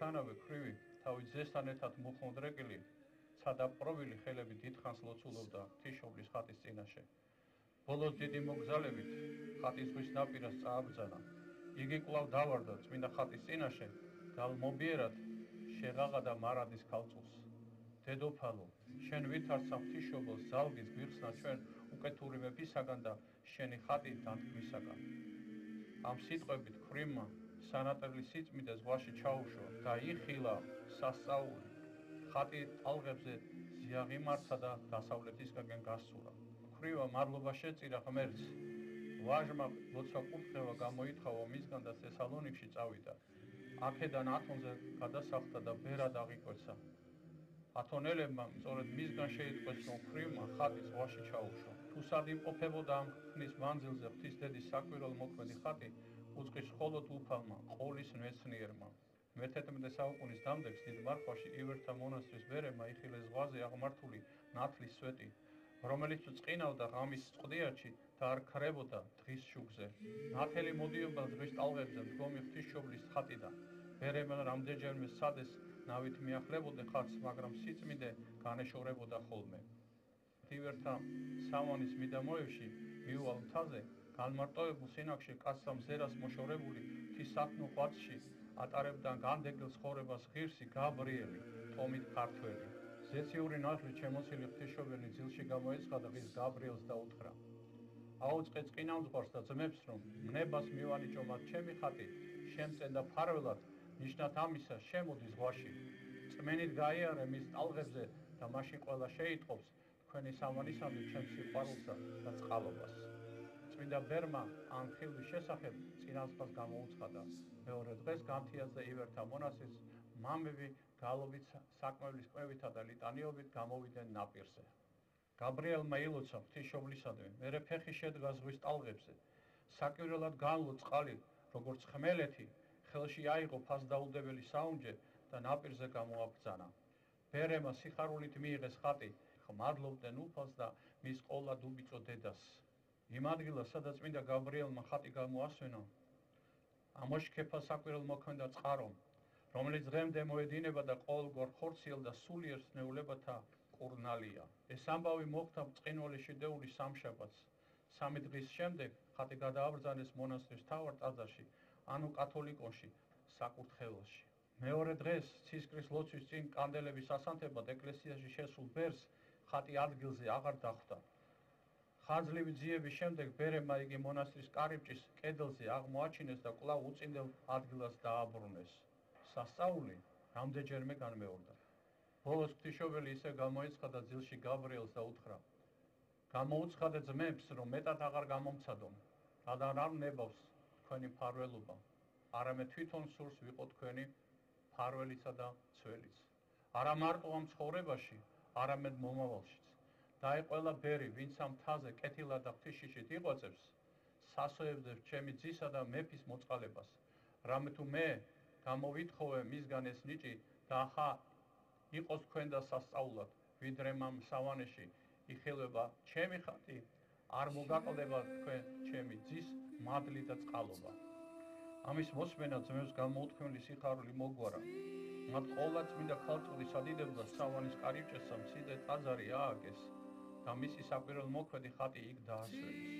მისთანავე ქვრივი თავის ძესთან ერთად მუხმოდრეკილი ცადაპყრობილი ხელები დიდხანს ლოცულობდა ღვთისმშობლის ხატის წინაშე. ბოლოს დიდი მოგზალებით ხატის ზღვის ნაპირას წააბრძანა. იგი კვლავ დავარდა წმინდა ხატის წინაშე და მობიერად შეღაღადა მარადის ქალწულს. დედოფალო, შენ ვითარცა ღვთისმშობელს ზალგის გვიხსნა ჩვენ უკეთური მეფისაგან და შენი ხატი დანთქმისაგან. ამ სიტყვებით ქვრივმა სანატრელი სიწმიდე ზღვაში ჩაუშვა და იხილა სასწაული. ხატი ტალღებზე ზიაღიმართა და დასავლეთისკენ გასცურა. ქვრივმა მადლობა შეწირა ღმერთს. ვაჟმა ლოცვა კურთხევა გამოითხოვა მისგან და თესალონიკში წავიდა. აქედან ათონზე გადასახლდა და ბერად აღიკვეცა. ათონელებმა სწორედ მისგან შეიტყვეს, რომ ქვრივმა ხატი ზღვაში ჩაუშვა. თუ სად იმყოფებოდა ამ ხნის მანძილზე ღვთის დედის საკვირველ მოქმედი ხატი, უწყის მხოლოდ უფალმა, ყოლის მეცნიერმა. მე-11 საუკუნის დამდეგს დიდ მარხვაში ივერთა მონასტრის ბერემა იხილეს ზღვაზე აღმართული ნათლის სვეტი, რომელიც წყინავდა ღამის წყდიაჩი და არ ქრებოდა დღის შუქზე. ნათელი მოდიოდა ზღვის ტალღებზე მდგომი ღვთისმშობლის ხატიდან. ბერემა რამდენჯერმე სადეს ნავით მიახლებოდა ხატს, მაგრამ სიწმიდე განეშორებოდა ხოლმე. ივერთა სამანის მიდამოებში მიუვალ მთაზე განმარტოვებულ სინაგში კაცთა მზერას მოშორებული ღვთისათნო ღვაწში ატარებდა განდეგილ ცხოვრებას ღირსი გაბრიელი, თომით ქართველი. ზეციური ნათლით შემოსილი ღვთისმშობელი ძილში გამოეცხადა ღირს გაბრიელს და უთხრა: აუწყე წყინამძღვარს და ძმებს, რომ მნებას მივანიჭო მათ ჩემი ხატი, შემწენ და ფარველად, ნიშნად ამისა შემოდი ზღვაში. წმენით გაიარე მის ტალღებზე და მაშინ ყველა შეიტყობს თქვენი სამანისამდე ჩემს სიყვარულსა და წყალობას. წმინდა ბერმა ამ ხილვის შესახებ წინასწარ გამოუცხადა. მეორე დღეს განთიაზე ივერთა მონასტრის მამები გალობით საკმევლის კმევითა და ლიტანიობით გამოვიდნენ ნაპირზე. გაბრიელმა ილოცა ღვთისმშობლისადმი, მერე ფეხი შედგა ზღვის ტალღებზე. საკვირველად განლო წყალი, როგორც ხმელეთი, ხელში აიღო ფასდაუდებელი საუნჯე და ნაპირზე გამოაბრძანა. ბერემა სიხარულით მიიღეს ხატი, მადლობდნენ უფალს და მის ყოლა დუბიწო დედას. იმ ადგილას, სადაც წმინდა გაბრიელმა ხატი გამოასვენა, ამოშქეფა საკვირველ მოქმედა წყარომ, რომელიც დღემდე მოედინება და ყოველგვარ ხორციელ და სულიერ სნეულებათა კურნალია. ეს ამბავი მოხდა ბრწყინვალე შედეული სამშაბათს. 3 დღის შემდეგ ხატი გადააბრძანეს მონასტრის მთავარ ტაძარში, ანუ კათოლიკონში, საკურთხეველში. მეორე დღეს ცისკრის ლოცვის წინ კანდელების ასანთებად ეკლესიაში შესულ ბერს ხატი ადგილზე აღარ დახვდა. ხანძლივი ძიების შემდეგ ბერემა იგი მონასტრის კარიბჭის კედელზე აღმოაჩინეს და კვლავ უწინდელ ადგილას დააბრუნეს. სასწაული რამდენჯერმე განმეორდა. ბოლოს ღვთისმშობელი ისე გამოეცხადა ძილში გაბრიელს და უთხრა: გამოუცხადე ძმებს, რომ მეტად აღარ გამომცადონ, რადგან არ ნებავს თქვენი მფარველობა, არამედ თვითონ სურს ვიყო თქვენი მფარველიცა და ცველიც. არა მარტო ამ ცხოვრებაში, არამედ მომავალშიც. დაეყოლა ბერი, ვინც ამ მთაზე კეთილად და ღვთისშიშით იღვაწებს, სასოებდებს ჩემი ძისა და მეფის მოწყალებას. რამე თუ მე გამოვითხოვე მისგან ეს ნიჭი და ახლა იყოს თქვენ და სასწაულად, ვიდრე მამ სავანეში იხილება ჩემი ხატი, არ მოგაკლდება თქვენ ჩემი ძის მადლი და წყალობა. ამის მოსმენა ძმებს გამოუთქმელი სიხარული მოგვარა. მათ ყოვლა წმინდა ქალწულის ადიდებლად სავანის კარიბჭესა მცირე ტაძარი ააგეს და მისი საკვირველ მოქმედი ხატი იქ დაასვენეს.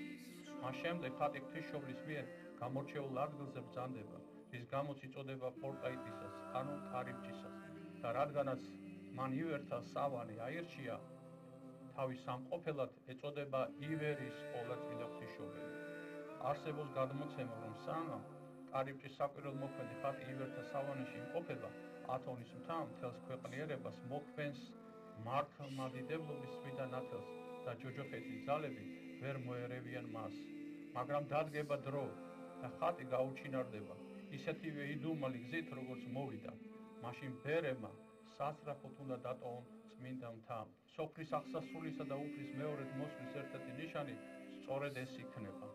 მას შემდეგ ხატი ღვთისმშობლის მიერ გამორჩეულ ადგილზე ბრძანდება, რის გამოც იწოდება პორტაიტისას, ანუ კარიბჭისას და რადგანაც მან ივერთა სავანი აირჩია, თავის სამყოფელად ეწოდება ივერის ყოვლადწმინდა ღვთისმშობელი. არსებობს გადმოცემა, რომ სანამ კარიბჭის საკვირველ მოქმედი ხატი ივერთა სავანეში იმყოფება, ათონის მთა მთელს ქვეყნიერებას მოქმენს მართლმადიდებლობის წმინდა ნათელს და ჯოჯოხეთის ძალები ვერ მოერევიან მას. მაგრამ დადგება დრო და ხატი გაუჩინარდება ისეთივე იდუმალი გზით, როგორც მოვიდა. მაშინ ბერემა სასწრაფოდ უნდა დატოვონ წმინდა მთა. სოფლის აღსასრულისა და უფლის მეორედ მოსვლის ერთ-ერთი ნიშანი სწორედ ეს იქნება.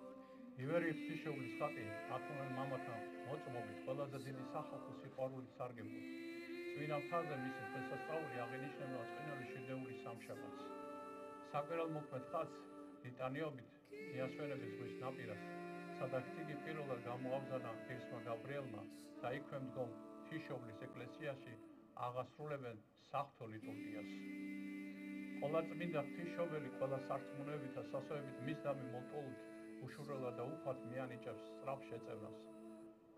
ივერი ღვთისმშობლის ხატი ათონელ მამათა მოწმობით ყველაზე დიდი სახალხო სიყვარულით სარგებლობს. წმინდა მთაზე მისი დღესასწაული აღინიშნება წმინდანის შედეული სამშაბათს. საკვირველ მოქმედ ხატს ლიტანიობით მიასვენებს ზღვის ნაპირას, სადაც იგი პირველად გამოაბრძანა ღირსმა გაბრიელმა და იქვე მდგომ ღვთისმშობლის ეკლესიაში აღასრულებენ საღვთო ლიტურგიას. ყოვლადწმინდა ღვთისმშობელი ყველა სარწმუნოებით და სასწაულებით მის დამი მოლტოლით უშურველად და უფალთ მიანიჭებს სწრაფ შეწევნას.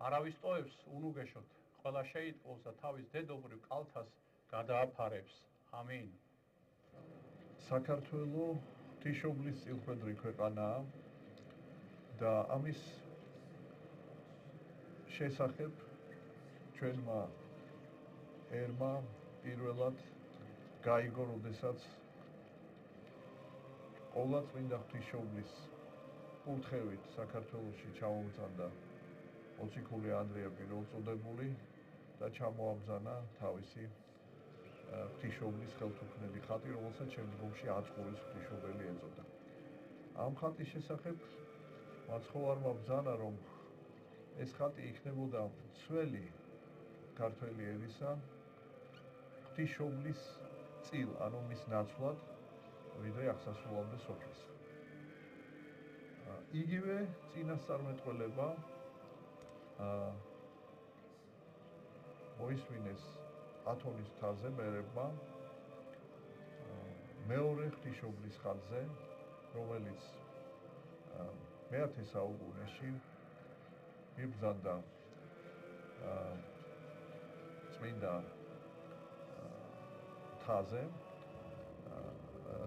არავის ტოებს უნუგეშოთ, ყველა შეიტყობს და თავის დედობრივ კალთას გადააფარებს. ამინ. საქართველოს ღვთისმშობლის წილხვედრი ქვეყანაა და ამის შესახებ ჩვენმა ერმა პირველად გაიგო, როდესაც ყოვლადწმინდა ღვთისმშობლის კურთხევით საქართველოში ჩამოვიწყდა მოციქული ანდრია პირველწოდებული და ჩამოაბრძანა თავისი ღვთისმშობლის ხელთუქმნელი ხატი, რომელსაც შემდგომში აწყურის ღვთისმშობელი ეწოდა. ამ ხატის შესახებ მაცხოვარმა ბრძანა, რომ ეს ხატი იქნებოდა მცველი ქართველი ერისა ღვთისმშობლის წილ, ანუ მის ნაცვლად, ვიდრე აღსასრულამდე სოფლის. იგივე წინასწარმეტყველება მოისმინეს ათონის მთაზე მერებმა მეორე ღვთისმშობლის ხატზე, რომელიც მე-10 საუკუნეში იბრძანდა წმინდა მთაზე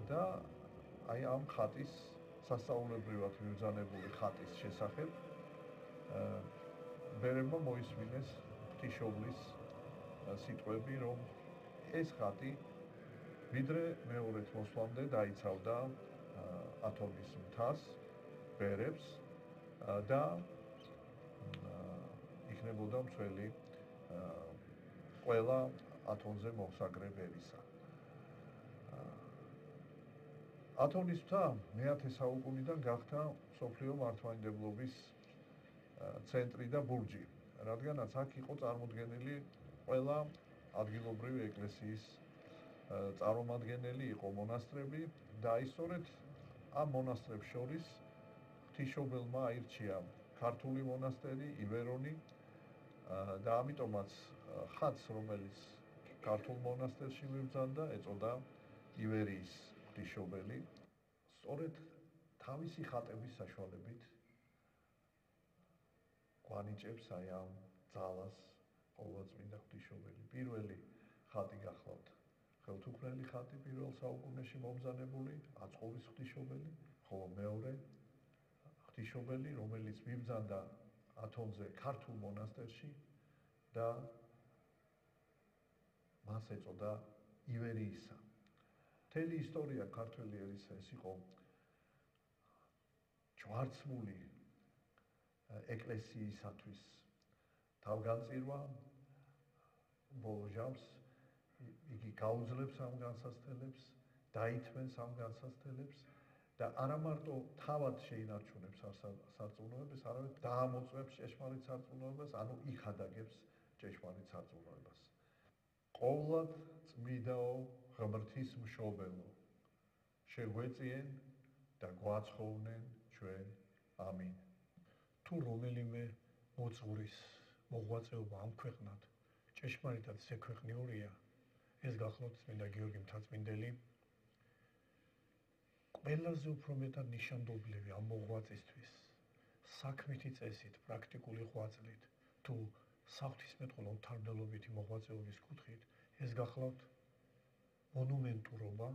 და აი ამ ხატის სასწაულებრივად მიბრძანებული ხატის შესახებ მერებმა მოისმინეს ღვთისმშობლის სიტყვები, რომ ეს ხატი ვიდრე მეორედ მოსვლამდე დაიცავდა ათონის მთას, ბერებს და იქნებოდა მცველი ყველა ათონზე მომსაგრე ერისა. ათონის მთა მე-10 საუკუნიდან გახდა მსოფლიო მართლმადიდებლობის ცენტრი და ბურჯი, რადგანაც აქ იყო წარმოდგენილი ყველა ადგილობრივი ეკლესიის წარმომადგენელი, იყო მონასტრები და ისწორედ ამ მონასტრებს შორის ღვთისმშობელმა აირჩია ქართული მონასტერი, ივერონი და ამიტომაც ხატს, რომელიც ქართულ მონასტერში მიბრძანდა, ეწოდა ივერიის ღვთისმშობელი. სწორედ თავისი ხატების საშუალებით გვანიჭებს აი ამ ძალას ყოვლადწმინდა ღვთისმშობელი. პირველი ხატი გახლავთ ხელთუქმნელი ხატი პირველ საუკუნეში მომბრძანებული, აწყურის ღვთისმშობელი, ხოლო მეორე ღვთისმშობელი, რომელიც მიბრძანდა ათონზე ქართულ მონასტერში და მას ეწოდა ივერიისა. მთელი ისტორია ქართველი ერისა ეს იყო ჯვარცმული ეკლესიისათვის თავგანწირვა, ბოლო ჟამს იგი გაუძლებს ამ განსაცდელებს, დაითმენს ამ განსაცდელებს და არა მარტო თავად შეინარჩუნებს სარწმუნოებას, არამედ დაამოწმებს ჭეშმარიტ სარწმუნოებას, ანუ იქადაგებს ჭეშმარიტ სარწმუნოებას. ყოვლად წმიდაო ღმრთის მშობელო, შეგვეწიენ და გვაცხოვნენ ჩვენ. ამინ. თუ რომელიმე მოძღვრის მოღვაწეობა ამ ქვეყნად ჭეშმარიტად ზექვეყნიურია, ეს გახლავთ წმინდა გიორგი მთაწმინდელი, ყველაზე უფრო მეტად ნიშანდობლივი ამ მოღვაწისთვის საქმითი წესით, პრაქტიკული ღვაწლით თუ საღვთისმეტყველო მთავრდელობითი მოღვაწეობის კუთხით, ეს გახლავთ მონუმენტურობა,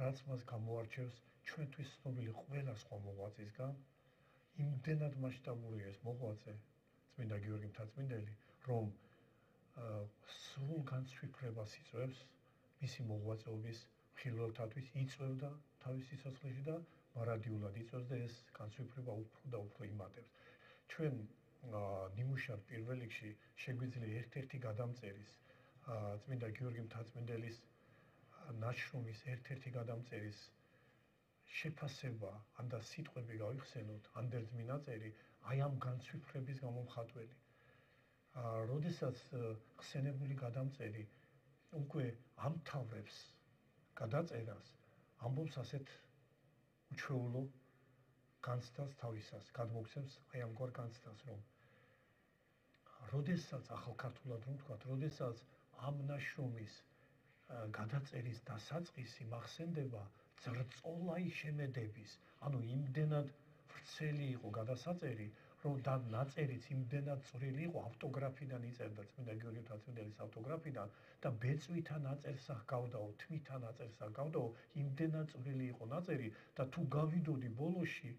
რაც მას გამოარჩევს ჩვენთვის ცნობილი ყველა სხვა მოღვაწისგან. იმდენად მასშტაბურია ეს მოღვაწე, წმინდა გიორგი მთაწმინდელი, რომ სრულ განცვიფრებას იწვევს მისი მოღვაწეობის მხილველთათვის, იწვევდა თავის სიცოცხლეში და მარადიულად იწვევს და ეს განცვიფრება უფრო და უფრო იმატებს. ჩვენ ნიმუშად პირველ რიგში შეგვიძლია ერთ-ერთი გადამწერის წმინდა გიორგი მთაწმინდელის ნაშრომის ერთ-ერთი გადამწერის შეფასება, ან და სიტყვები გავიხსენოთ, ანდერძმი ნაწერი, აი ამ განცვიფრების გამომხატველი. როდესაც ხსენებული გადამწერი უკვე ამთავრებს გადაწერას, ამბობს ასეთ უჩვეულო განცდას თავისას, გადმოგცემს აი ამგვარ განცდას, რომ როდესაც ახალ ქართულად რომ ვთქვათ, როდესაც ამ ნაშრომის გადაწერის დასაწყისი მახსენდება ძრწოლაი შემედების, ანუ იმდენად ვრცელი იყო გადასაწერი, რომ და ნაწერიც იმდენად წვრილი იყო, ავტოგრაფიდან იწერდა წმინდა გიორგი მთაწმიდელის ავტოგრაფიდან და ბეწვითა ნაწერს ჰგავდაო, თვითა ნაწერს ჰგავდაო, იმდენად წვრილი იყო ნაწერი და თუ გავიდოდი ბოლოში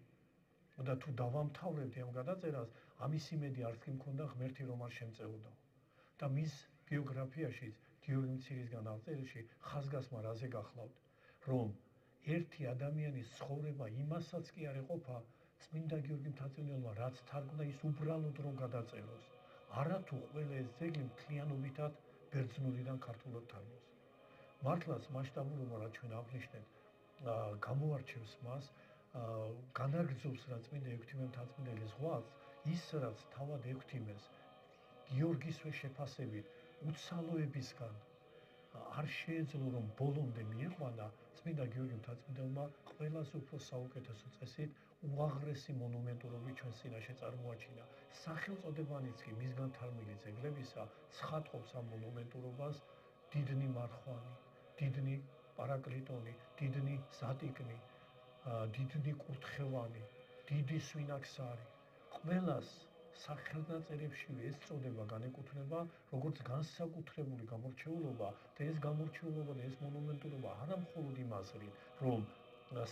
და თუ დავამთავრებდი ამ გადაწერას, ამის იმედი არც კი მქონდა, ღმერთი რომ არ შემწეოდაო. და მის ბიოგრაფიაშიც გიორგი მცირისგან აღწერილში ხაზგასმა რაზე გახლავთ, რომ ერთი ადამიანის ცხოვრება იმასაც კი არ ეყოფა, წმინდა გიორგი მთაწმიდელმა რაც თარგმნა ის უბრალოდ რომ გადაწეროს, არათუ ყველა ეს ძეგლი მთლიანობითად ბერძნულიდან ქართულად თარგმნოს. მართლაც მასშტაბურობა რაც ჩვენ აღნიშნეთ, გამოარჩევს მას, განაგრძობს რა წმინდა ექვთიმე მთაწმიდელის ზღვას, ის რაც თავად ექვთიმეს გიორგისვე შეფასებით უცალოებისგან არ შეეძლო რომ ბოლომდე მიიყვანა, წმინდა გიორგი მთაწმიდელმა ყველაზე უფრო საუკეთესო წესით უაღრესი მონუმენტურობით ჩვენს წინაშე წარმოაჩინა. სახელწოდებანიც კი მისგან თარგმნილი ძეგლებისა ცხადყოფს ამ მონუმენტურობას დიდნი მარხვანი, დიდნი პარაკლიტონი, დიდნი ზატიკნი, დიდნი კურთხევანი, დიდი სვინაქსარი. ყველას სახელნაწერებშივე ეს წოდება განეკუთვნება როგორც განსაკუთრებული გამორჩეულობა და ეს გამორჩეულობა და ეს მონუმენტურობა არა მხოლოდ იმას რით, რომ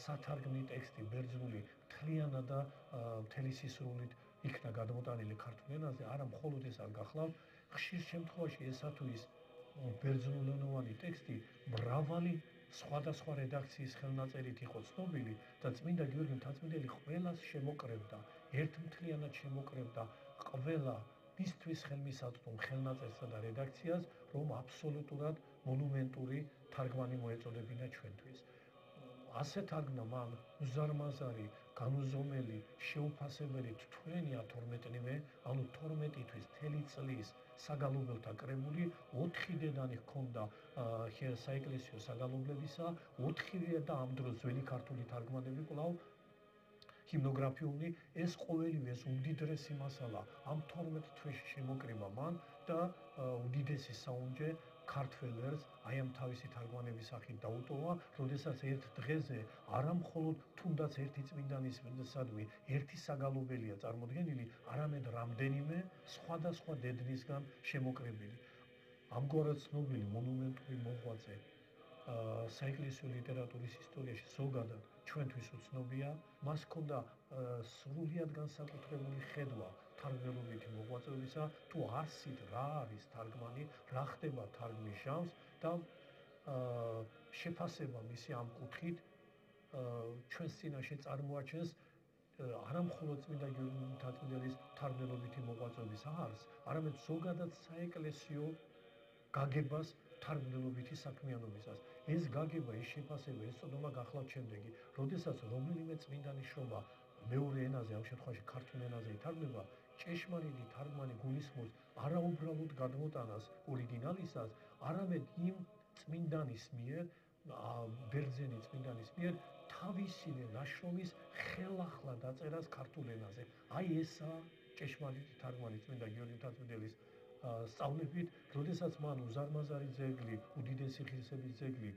სათარგმნი ტექსტი ბერძნული მთლიანად და მთელი სისრულით იქნა გადმოტანილი ქართულ ენაზე, არა მხოლოდ ეს არ გახლავთ, ხშირ შემთხვევაში ესა თუ ის ბერძნულენოვანი ტექსტი მრავალი სხვადასხვა რედაქციის ხელნაწერით იყო ცნობილი და წმინდა გიორგი მთაწმიდელი ყველას შემოკრებდა, ერთმთლიანად შემოკრებდა ყველა მისთვის ხელმისაწვდომ ხელნაწერსა და რედაქციას, რომ აბსოლუტურად მონუმენტური თარგმანი მოეწოდებინა ჩვენთვის. ასე თარგმნა მან უზარმაზარი, განუზომელი, შეუფასებელი თითქმის 12-ნივე, ანუ 12 თვის მთელი წლის საგალობელთა კრებული 4 დედანი ჰქონდა საეკლესიო საგალობლებისა, 4-ვე და ამ დროს ძველი ქართული თარგმანები კვლავ ჰიმნოგრაფიული, ეს ყოველივე ეს უდიდრესი მასალა ამ 12 თვეში შემოკრება მან და უდიდესი საუნჯე ქართველ ერს აი ამ თავისი თარგმანების სახით დაუტოვა, როდესაც ერთ დღეზე არა მხოლოდ თუნდაც ერთი წმინდანის სადმი ერთი საგალობელია წარმოდგენილი, არამედ რამდენიმე სხვადასხვა დედნისგან შემოკრებილი. ამგვარად ცნობილი მონუმენტური მოღვაწე საეკლესიო ლიტერატურის ისტორიაში ზოგადად ჩვენთვის უცნობია, მას ჰქონდა სრულიად განსაკუთრებული ხედვა თარგმნელობითი მოღვაწეობისა, თუ არსით რა არის თარგმანი, რა ხდება თარგმნის ჟამს და შეფასება მისი ამ კუთხით ჩვენს წინაშე წარმოაჩენს არა მხოლოდ წმინდა გიორგი მთაწმიდელის თარგმნელობითი მოღვაწეობის არსს, არამედ ზოგადად საეკლესიო გაგებას თარგმნელობითი საქმიანობისას. ეს გაგება, ეს შეფასება, ეს წოდომა გახლავთ შემდეგი, როდესაც რომელიმე წმინდანის შრომა მეორე ენაზე, ამ შემთხვევაში ქართულ ენაზე ითარგმნება, ჭეშმარიტი თარგმანი გულისხმობს არა უბრალოდ გადმოტანას ორიგინალისას, არამედ იმ წმინდანის მიერ, ბერძენი წმინდანის მიერ თავისივე ნაშრომის ხელახლა დაწერას ქართულ ენაზე. აი ესაა ჭეშმარიტი თარგმანი წმინდა გიორგი მთაწმიდელის სწავლებით, როდესაც მან უზარმაზარი ძეგლი, უდიდესი ღირსების ძეგლი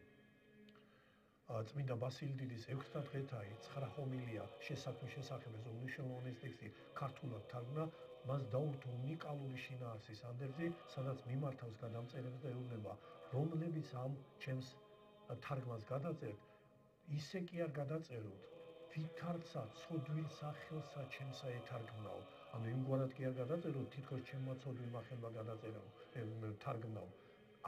წმინდა ბასილი დიდის 6 დღეთაი 9 ჰომილია შესაქმნის შესახებ ეს უმნიშვნელოვანესი ტექსტი ქართულად თარგმნა, მას დაურთო უნიკალური შინაარსის ანდერძი, სადაც მიმართავს გადამწერებს და ეუბნება, რომლებიც ამ ჩემს თარგმანს გადაწერთ, ისე კი არ გადაწეროთ, ვითარცა ცოდვილ სახელსა ჩემსა ეთარგმნაო. ანუ იმგვარად კი არ გადაწეროთ, თითქოს ჩემმა ცოდვილმა ხელმა გადაწერაო, თარგმნაო.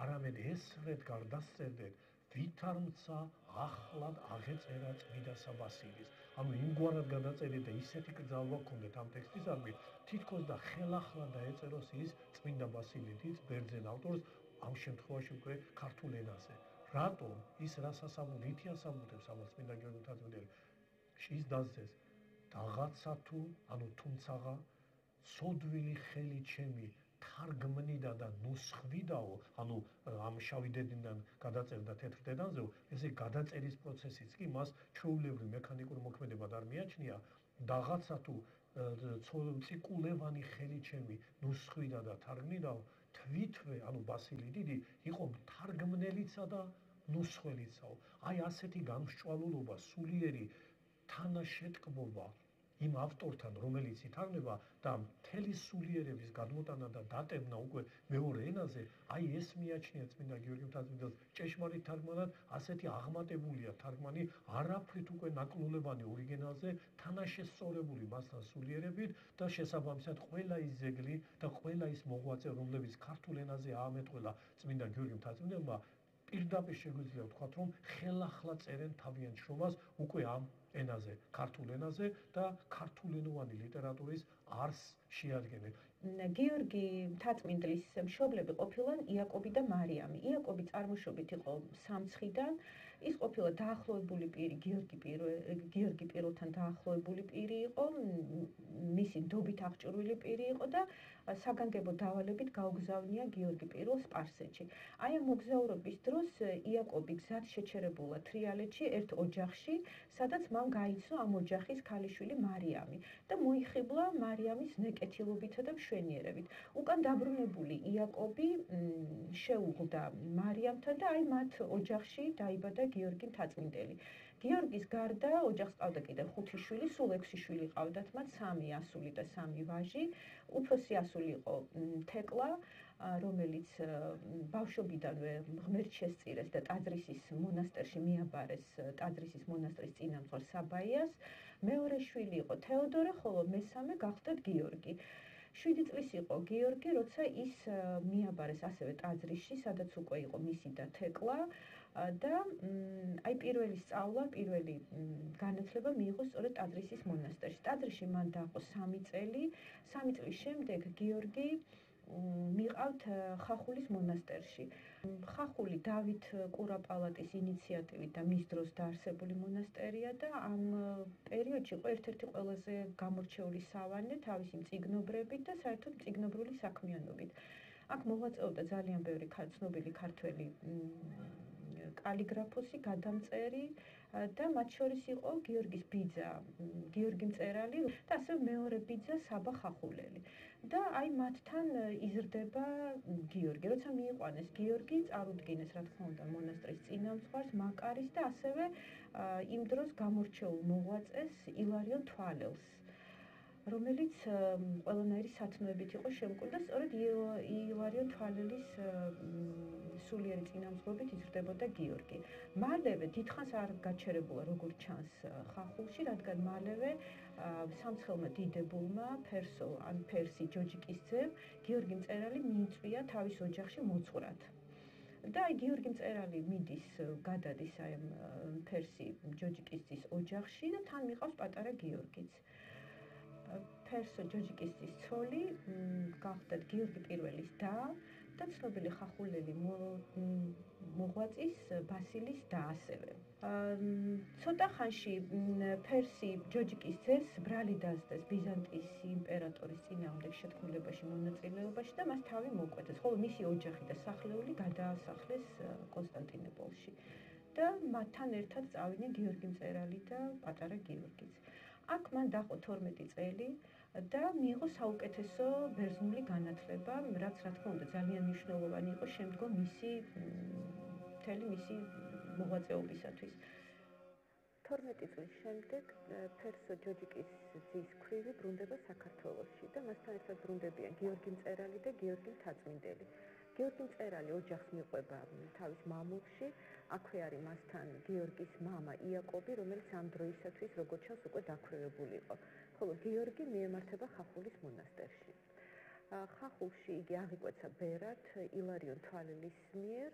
არამედ ესრეთ გარდასწერდეთ, ვითარმცა ახლად აღეწერა წმიდა საბასილის. ანუ იმგვარად გადაწერეთ და ისეთი კრძალვა გქონდეთ ამ ტექსტისადმი, თითქოს და ხელახლა დაეწეროს ის წმინდა ბასილიდიც ბერძენ ავტორს, ამ შემთხვევაში უკვე ქართულ ენაზე. რატომ ის რას ასაბუთებს, ითი ასაბუთებს ამას წმინდა გიორგი მთაწმიდელი? ის დასძეს, რაღაცა თუ, ანუ თუმცაღა ცოდვილი ხელი ჩემი თარგმნიდა და ნუსხვიდაო, ანუ ამ შავი დედნიდან გადაწერდა თეთრ დედანზეო, ესე გადაწერის პროცესიც კი მას ჩვეულებრივ მექანიკურ მოქმედებად არ მიაჩნია, რაღაცა თუ წიკულევანი ხელი ჩემი ნუსხვიდა და თარგმნირავ თვითვე ანუ ბასილი დიდი იყო თარგმნელიცა და ნუსხველიცაო აი ასეთი გამსჭვალულობა სულიერი თანაშეტკბობა იმ ავტორთან რომელიც ითარგმნება და მთელი სულიერების გადმოტანა და დატევნა უკვე მეორე ენაზე აი ეს მიაჩნია წმინდა გიორგი მთაწმინდელს ჭეშმარიტ თარგმანად ასეთი აღმატებულია თარგმანი არაფრით უკვე ნაკლულებანი ორიგინალზე თანაშესწორებული მასთან სულიერებით და შესაბამისად ყველა ის ძეგლი და ყველა ის მოღვაწე რომლებიც ქართულ ენაზე აამეტყველა წმინდა გიორგი მთაწმინდელმა პირდაპირ შეგვიძლია ვთქვათ რომ ხელახლა წერენ თავიანთ შრომას უკვე ამ ენაზე, ქართულ ენაზე და ქართულენოვანი ლიტერატურის არსს შეადგენენ. გიორგი მთაწმინდლის მშობლები ყოფილან იაკობი და მარიამი. იაკობი წარმოშობით იყო სამცხიდან, ის ყოფილა დაახლოებული პირი გიორგი პირველთან დაახლოებული პირი იყო, მისი ნდობით აღჭურვილი პირი იყო და საგანგებო დავალებით გაუგზავნია გიორგი პირველ სპარსეთში. აი ამ მოგზაურობის დროს იაკობი გზად შეჩერებულა თრიალეთში ერთ ოჯახში, სადაც მან გაიცნო ამ ოჯახის ქალიშვილი მარიამი და მოიხიბლა მარიამის ნეკეთილობითა და მშვენიერებით. უკან დაბრუნებული იაკობი შეუღლდა მარიამთან და აი მათ ოჯახში დაიბადა გიორგი მთაწმინდელი. გიორგის გარდა ოჯახს ყავდა კიდევ 5 შვილი, სულ 6 შვილი ყავდათ მათ, 3 ასული და 3 ვაჟი. უფროსი ასული იყო თეკლა, რომელიც ბავშვობიდანვე ღმერთს შესწირეს და ტაძრისის მონასტერში მიაბარეს ტაძრისის მონასტრის წინამძღვარ საბაიას. მეორე შვილი იყო თეოდორე, ხოლო მესამე გახლდათ გიორგი. 7 წლის იყო გიორგი, როცა ის მიაბარეს ასევე ტაძრისში, სადაც უკვე იყო მისი და თეკლა და აი პირველი სწავლა, პირველი განათლება მიიღო სწორედ ტაძრისის მონასტერში. ტაძრში მან დაყო 3 წელი, 3 წლის შემდეგ გიორგი მიყავთ ხახულის მონასტერში. ხახული დავით კურაპალატის ინიციატივით და მის დროს დაარსებული მონასტერია და ამ პერიოდში იყო ერთ-ერთი ყველაზე გამორჩეული სავანე თავისი მწიგნობრებით და საერთოდ მწიგნობრული საქმიანობით. აქ მოღვაწეობდა ძალიან ბევრი ცნობილი ქართველი კალიგრაფოსი, გადამწერი და მათ შორის იყო გიორგის ბიძა, გიორგი მწერალი და ასევე მეორე ბიძა საბა ხახულელი. და აი მათთან იზრდება გიორგი. როცა მიიყვანეს გიორგი, წარუდგინეს რა თქმა უნდა მონასტრის წინამძღვარს, მაკარის და ასევე იმ დროს გამორჩეულ მოღვაწეს ილარიონ თვალელს, რომელიც ყველანაირი სათნოებით იყო შემკული და სწორედ ილარიონ თვალელის სულიერი წინამძღვრობით იზრდებოდა გიორგი. მალევე დიდხანს არ გაჩერებულა როგორც ჩანს ხახულში, რადგან მალევე სამცხელმა დიდებულმა ფერსი ჯოჯიკის ძემ გიორგი მწერალი მიიწვია თავის ოჯახში მოძღვრად. და აი გიორგი მწერალი მიდის, გადადის აი ფერსი ჯოჯიკის ძის ოჯახში და თან მიყავს პატარა გიორგიც. ფერსო ჯოჯიკისის ცოლი გახლდათ გიორგი პირველის და ცნობილი ხახულელი მოღვაწის ბასილის და ასევე. ცოტა ხანში ფერსი ჯოჯიკის ძეს ბრალი დასდეს ბიზანტიის იმპერატორის წინააღმდეგ შეთქმულებაში მონაწილეობაში და მას თავი მოკვეთეს, ხოლო მისი ოჯახი და სახლეული გადაასახლეს კონსტანტინოპოლში და მათთან ერთად წავიდნენ გიორგი მწერალი და პატარა გიორგიც. აქ მან დაყო 12 წელი და მიიღო საუკეთესო ბერძნული განათლება, რაც რა თქმა უნდა ძალიან მნიშვნელოვანი იყო შემდგომ მისი მოღვაწეობისათვის. 12 წლის შემდეგ ფერსო ჯოჯიკის ძის ქვრივი ბრუნდება საქართველოში და მასთან ერთად ბრუნდებიან გიორგი მწერალი და გიორგი მთაწმინდელი. გიორგი მწერალი ოჯახს მიყვება თავის მამულში, აქვე არის მასთან გიორგის მამა იაკობი, რომელიც ამ დროისათვის როგორც ჩანს უკვე დაქვრივებული იყო. ხოლო გიორგი მიემართება ხახულის მონასტერში. ხახულში იგი აღიკვეცა ბერად ილარიონ თვალელის მიერ,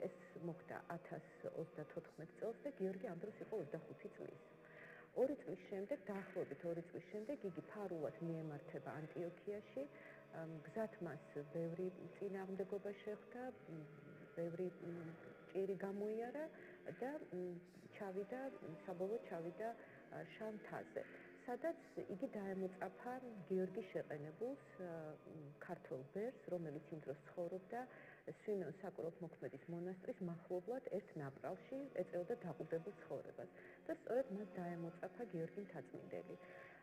ეს მოხდა 1034 წელს და გიორგი ამ დროს იყო 25 წლის. 2 წლის შემდეგ, დაახლოებით 2 წლის შემდეგ იგი ფარულად მიემართება ანტიოქიაში, გზად მას ბევრი წინააღმდეგობა შეხვდა, ბევრი ჭირი გამოიარა და საბოლოოდ ჩავიდა შანთაზე, სადაც იგი დაემოწაფა გიორგის შეყენებულს, ქართველ ბერს, რომელიც იმ დროს ცხოვრობდა სვიმეონ საკურორტმოქმედის მონასტრის მახლობლად ერთ ნაპრალში, ეწეოდა დაყუდებულ ცხოვრებას და სწორედ მას დაემოწაფა გიორგი მთაწმინდელი.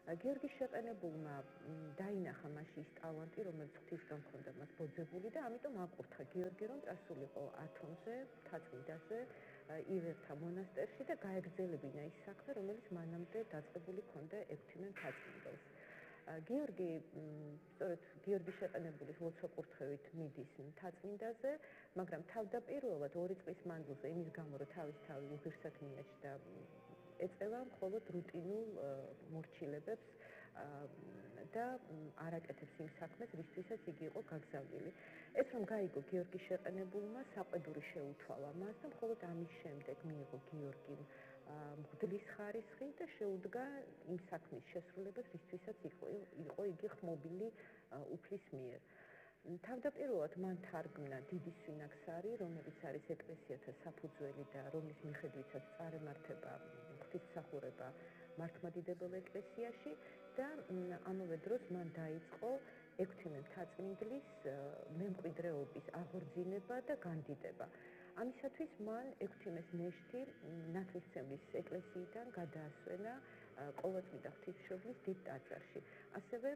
გიორგის შეყენებულმა დაინახა მასში ის ტალანტი, რომელიც ღვთისგან ჰქონდა მას ბოძებული და ამიტომ აკურთხა გიორგი, რომ წასულიყო ათონზე, მთაწმინდაზე, ივერთა მონასტერში და გაეგრძელებინა ის საქმე, რომელიც მანამდე დაწყებული ჰქონდა ექვთიმე მთაწმინდელს. გიორგი, სწორედ გიორგის შეყენებულის ლოცვა-კურთხევით მიდის მთაწმინდაზე, მაგრამ თავდაპირველად 2 წლის მანძილზე იმის გამო, რომ თავის თავი უღირსად მიაჩნდა, ეწევა მხოლოდ რუტინულ მორჩილებებს და არ აკეთებს იმ საქმეს, რისთვისაც იგი იყო გაგზავნილი. ეს რომ გაიგო გიორგის შეყენებულმა, საყვედური შეუთვალა მას და მხოლოდ ამის შემდეგ მიიღო გიორგიმ მღვდლის ხარისხი და შეუდგა იმ საქმის შესრულებას, რისთვისაც იყო იგი ხმობილი უფლის მიერ. თავდაპირველად მან თარგმნა დიდი სვინაქსარი, რომელიც არის ეკლესიათა საფუძველი და რომლის მიხედვითაც წარემართება ღვთისმსახურება მართლმადიდებელ ეკლესიაში და ამავე დროს მან დაიწყო ექვთიმე მთაწმინდლის მემკვიდრეობის აღორძინება და განდიდება. ამისათვის მან ექვთიმეს ნეშთი ნათლისმცემლის ეკლესიიდან გადაასვენა ყოველწლიდა ღვთისმშობლის დიდ ტაძარში. ასევე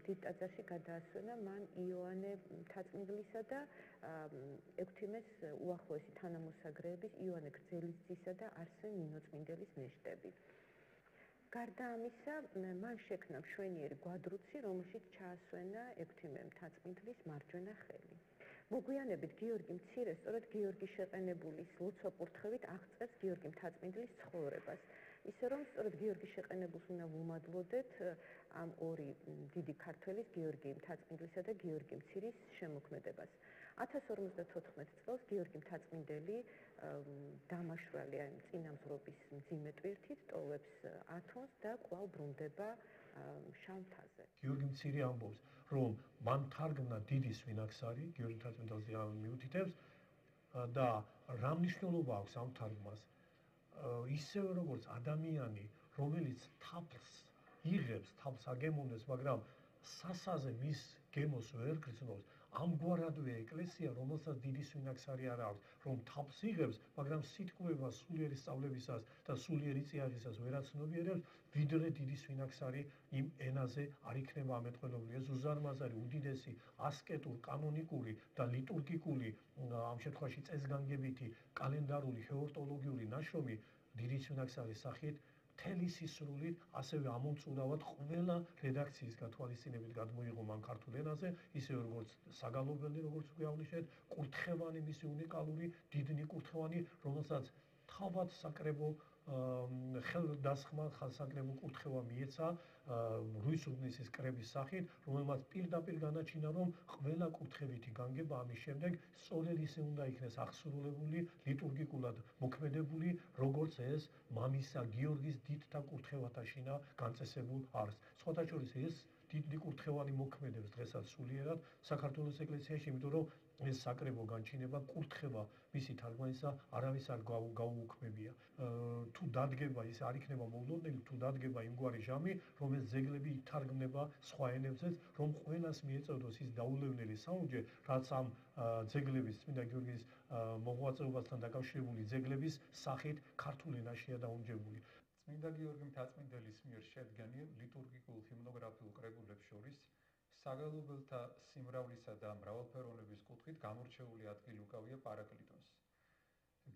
დიდ ტაძარში გადაასვენა მან იოანე მთაწმინდლისა და ექვთიმეს უახლოესი თანამოსაგრეების იოანე გრძელისძისა და არსენ ნინოწმინდელის ნეშტები. გარდა ამისა, მან შექმნა მშვენიერი გვადრუცი, რომელშიც ჩაასვენა ექვთიმე მთაწმინდლის მარჯვენა ხელი. მოგვიანებით გიორგი მცირე სწორედ გიორგის შეყენებულის ლოცვა-კურთხევით აღწერს გიორგი მთაწმინდლის ცხოვრებას. ისე რომ სწორედ გიორგის შეყენებულს უნდა ვუმადლოდეთ ამ ორი დიდი ქართველის, გიორგი მთაწმინდლისა და გიორგი მცირის შემოქმედებას. 1054 წელს გიორგი მთაწმინდელი დამაშვრალი წინამძღვრობის მძიმე ტვირთით ტოვებს ათონს და კვლავ ბრუნდება შავთაზე. გიორგი მცირე ამბობს, რომ მან თარგმნა დიდი სვინაქსარი, გიორგი მთაწმინდელზე მიუთითებს და რა მნიშვნელობა აქვს ამ თარგმას? ისევე როგორც ადამიანი, რომელიც თაფლს იღებს, თაფლს აგემოვნებს, მაგრამ სასაზე მის გემოს ვერ გრძნობს, ამგვარადვე ეკლესია, რომელსაც დიდი სვინაქსარი არ აქვს, რომ თაფლს იღებს, მაგრამ სიტყვება სულიერი სწავლებისას და სულიერი წიაღისას ვერ აცნობიერებს, ვიდრე დიდი სვინაქსარი იმ ენაზე არ იქნება ამეტყველებული. ეს უზარმაზარი, უდიდესი, ასკეტურ, კანონიკური და ლიტურგიკული, ამ შემთხვევაში წესგანგებითი, კალენდარული, ჰეორტოლოგიური ნაშრომი დიდი სვინაქსარის სახით მთელი სისრულით, ასევე ამომწურავად ყველა რედაქციის გათვალისწინებით გადმოიღო მან ქართულ ენაზე, ისევე როგორც საგალობელი, როგორც გვიაღვნიშნეთ, კურთხევანი, მისი უნიკალური, დიდნი კურთხევანი, რომელსაც თავად საკრებო ხელდასხმა საკრებო კურთხევა მიეცა რუის-ურბნისის კრების სახით, რომელმაც პირდაპირ განაჩინა, რომ ყველა კურთხევითი განგება ამის შემდეგ სწორედ ისე უნდა იქნეს აღსრულებული, ლიტურგიკულად მოქმედებული, როგორც ეს მამისა გიორგის დიდთა კურთხევათა შინა განწესებულ არის. სხვათა შორის ეს დიდი კურთხევანი მოქმედებს დღესაც სულიერად საქართველოს ეკლესიაში, იმიტომ რომ ეს საკრებო განჩინება, კურთხევა მისი თარგმანისა არავის არ გაუუქმებია. თუ დადგება ის არ იქნება მოულოდნელი, თუ დადგება იმგვარი ჟამი, რომელიც ძეგლები ითარგმნება სხვა ენებზეც, რომ ყველას მიეწოდოს ის დაულევნელი საუნჯე, რაც ამ ძეგლების, წმინდა გიორგის მოღვაწეობასთან დაკავშირებული ძეგლების სახით ქართულ ენაშია დაუნჯებული. წმინდა გიორგი მთაწმინდელის მიერ შედგენილ ლიტურგიკულ ჰიმნოგრაფიულ კრებულებს შორის საგალობელთა სიმრავლისა და მრავალფეროვნების კუთხით გამორჩეული ადგილი უკავია პარაკლიტონს.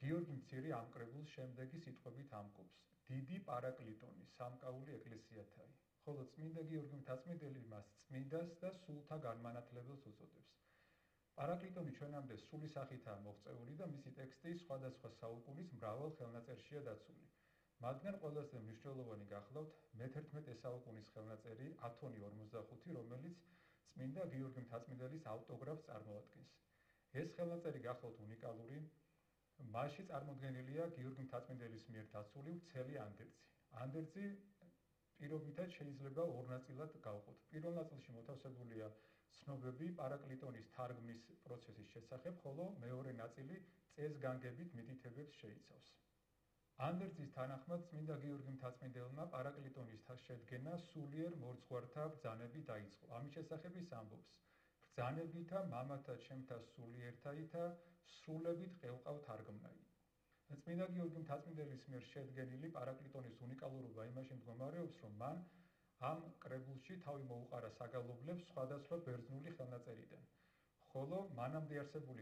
გიორგი მცირე ამ კრებულს შემდეგი სიტყვებით ამკობს: დიდი პარაკლიტონი, სამკაული ეკლესიათაი, ხოლო წმინდა გიორგი მთაწმინდელი მას წმინდას და სულთა განმანათლებელს უწოდებს. პარაკლიტონი ჩვენამდე სული სახითაა მოღწეული და მისი ტექსტი სხვადასხვა საუკუნის მრავალ ხელნაწერშია დაცული. მათგან ყველაზე მნიშვნელოვანი გახლავთ მე-11 საუკუნის ხელნაწერი ათონი 45, რომელიც წმინდა გიორგი მთაწმინდელის ავტოგრაფს წარმოადგენს. ეს ხელნაწერი გახლავთ უნიკალური, მასში წარმოდგენილია გიორგი მთაწმინდელის მიერ დაცული ვრცელი ანდერძი. ანდერძი პირობითად შეიძლება ორ ნაწილად გავყოთ. პირველ ნაწილში მოთავსებულია ცნობები პარაკლიტონის თარგმნის პროცესის შესახებ, ხოლო მეორე ნაწილი წესგანგებით მითითებებს შეიცავს. ანდერძის თანახმად წმინდა გიორგი მთაწმინდელმა პარაკლიტონის შედგენა სულიერ მორცხვართა ბრძანები დაიწყო. ამის შესახებ ის ამბობს: ბრძანებითა მამათა ჩემთა სულიერთაითა სრულებით ყევყავ თარგმნაი. წმინდა გიორგი მთაწმინდელის მიერ შედგენილი პარაკლიტონის უნიკალურობა იმაში მდგომარეობს, რომ მან ამ კრებულში თავი მოუყარა საგალობლებს სხვადასხვა ბერძნული ხელნაწერიდან, ხოლო მანამდე არსებული